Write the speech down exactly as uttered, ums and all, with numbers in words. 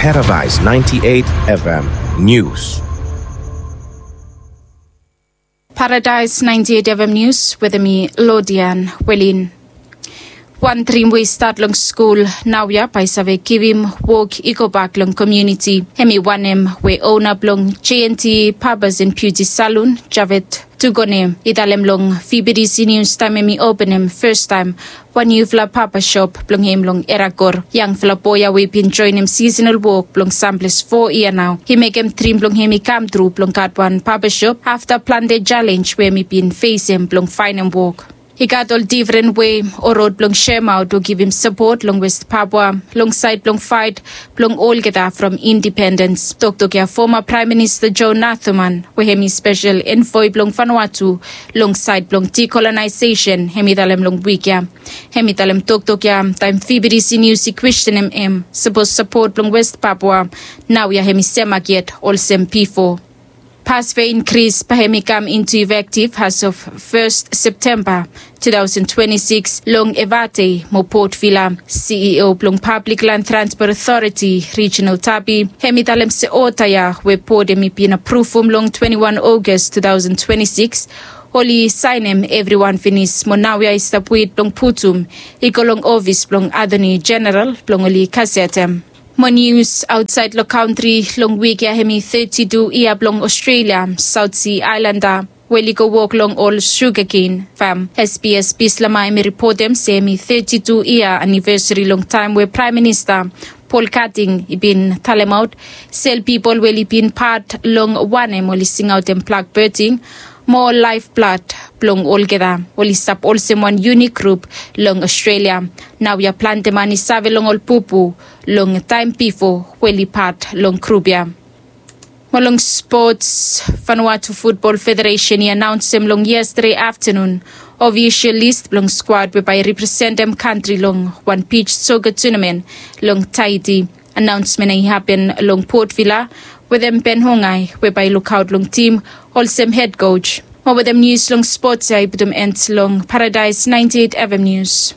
Paradise ninety-eight F M News. Paradise ninety-eight F M News wetem mi, Lodian Welin. Wan drim we i stat long skul naoia bae i save givim wok i gobak long komuniti. Hemi wanem we ona blong J and T Barbers and Beauty Salon, Javed Tugone, i talem long V B T C News taem hemi openem fastaem wan niufala baba shop blong hem long Eragor. Yangfala boe ya we i bin joenem sisenal wok blong samples fo yia nao, i mekem drim blong hem i kamtru blong gat wan baba shop afta plante jalenj we hemi bin fesem blong faenem wok. I gat ol difren wei o rod blong seremaot o givim sapot long West Papua long saed blong faet blong olgeta from independens. Toktok ya foma Praem Minista Joe Nathuman, we hemi spesel envoe blong Vanuatu long saed blong decolonization, hemi talem long wik ya. Hemi talem toktok ya taem V B T C News i kwestenem hem sapos sapot blong West Papua naoia hemi semak yet olsem bifo. Pas we i inkris bae hemi kam into effective as of first September two thousand twenty-six long Evate mo Port Vila. C E O blong Public Land Transport Authority, Reginald Tapi, hemi talem se ota ya we bot hemi bin apruvum long twenty-one August two thousand twenty-six, oli saenem evriwan finis mo naoia i stap wet blong putum i go long ofis blong Attorney General blong oli gazetem. Mo nius aotsaed long kantri. Long wik ya hemi thirty-two yia blong Australia South Sea Islander we oli go wok long ol sugaken fam. S B S Bislama hemi ripotem se hemi thirty-two yia anivesari long taem we Praem Minista Paul Keating i bin talemaot se ol pipol we oli bin pat long wanem oli singaotem blackbirding mo ol laefblad blong olgeta oli stap olsem wan yunik grup long Australia. Naoia plante man i save long ol bubu long taem bifo we oli pat long grup ya. Mo long spots, Vanuatu Futbol Federesen i anaonsem long yestade aftanun ofisol lis blong skwad we bae i representem kantri long wan bij soka tunamen long Tahiti. Anaonsmen ya i hapen long Port Vila wetem Ben Hongai we bae i lukaot long tim olsem hed koj. Mo wetem nius long spots ya i putum end long Paradise ninety-eight F M News.